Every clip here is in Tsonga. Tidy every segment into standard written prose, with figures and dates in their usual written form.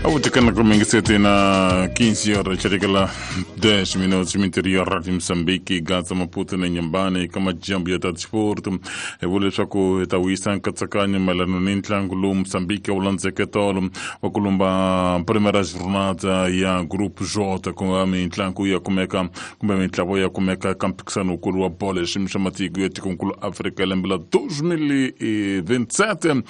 Avutikana kumingiseti na 15 horas chirikela 10 minutos minterior Radio Moçambique Gaza Maputo na Inhambane eka majambu ya ta disporto hi vula leswaku hi ta wisa nkatsakanyo mayelana ni ntlangu lowu Moçambique wu landzeke tolo wa ku lumba primera jornada ya Group J, ku nga mitlangu ya kumeka kumbe mitlawa ya kumeka eka mphikisano wukulu wa bolo hi xiyimo xa matiko ya tikonkulu Afrika lembe la 2027.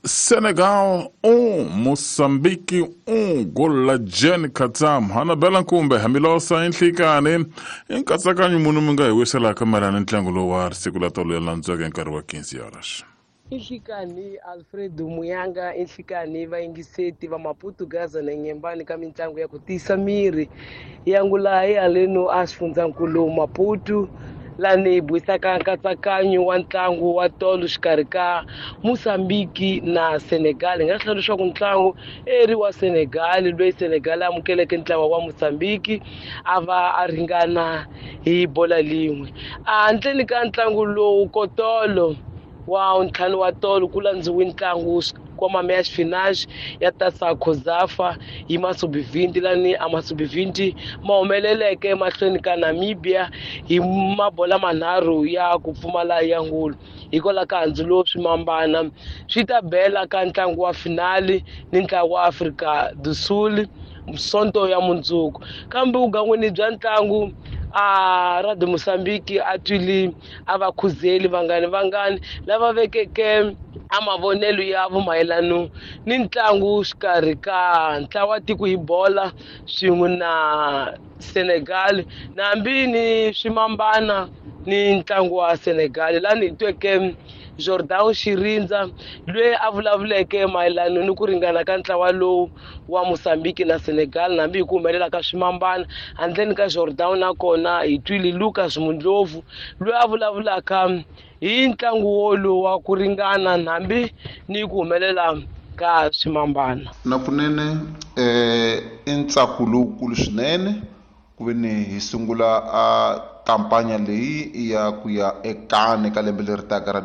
Senegal 1, Moçambique 1, gol la Jen Katam. Hanabela Nkumbe, Hamilosa Inhlikani. I nkatsakanyo munhu mi nga hi wiselaka mayelana ni ntlangu lowu wa siku la tolo ya landzeke hi nkarhi wa 15 horas. Inhlikani Alfredo Muyanga, inhlikani vayingiseti va Maputo, Gaza na Nyembani ka mitlangu ya ku tiyisa miri yangula hi haleno a xifundzankulu Maputo, lani hi buisaka nkatsakanyo wa ntlangu wa tolo xikarhi ka Mozambique na Senegal. Hi nga hlaya leswaku ntlangu eri wa Senegal, loyi Senegal a amukeleke ntlawa wa Mozambique a va a ringana hi bola lin'we. Handleni ka ntlangu lowu kotolo wa ntlhanu wa tolo ku landziwe ntlangu wa meias finais ya Taça COSAFA hi Masubivindi, lani a Masubivindi ma humeleleke emahlweni ka Namibia hi mabola manharhu ya ku pfumala ya ngulu. Hikwalaho ka handzu lowu swimambana swi ta bela ka ntlangu wa finali ni ntlangu wa Afrika do Sul Sonto ya mundzuku. Kambe vugangwini bya ntlangu a Radio Mozambique a twile a va khuzeli vangani vangani lava vekeke a mavonelo ya mayelano ni ntlangu xikarhi ka ntlawa tiko hi bola swin'we na Senegal, nambi ni swimambana ni ntlangu wa Senegal. Lani hi tweke Jordan Xirindza loyi a vulavuleke mayelano ni ku ringana ka ntlawa lowu wa Mozambique na Senegal, nambi hi ku humelela ka swimambana. Handleni ka Jordan nakona hi twile Lucas Mundlovu loyi a vulavulaka hi ntlangu wolowu wa ku ringana nambi ni ku humelela ka swimambana. Na kunene i ntsako lowukulu swinene ku ve ni hi sungula a kampanya leyi ya ku ya ekane ka lembe leri taka ra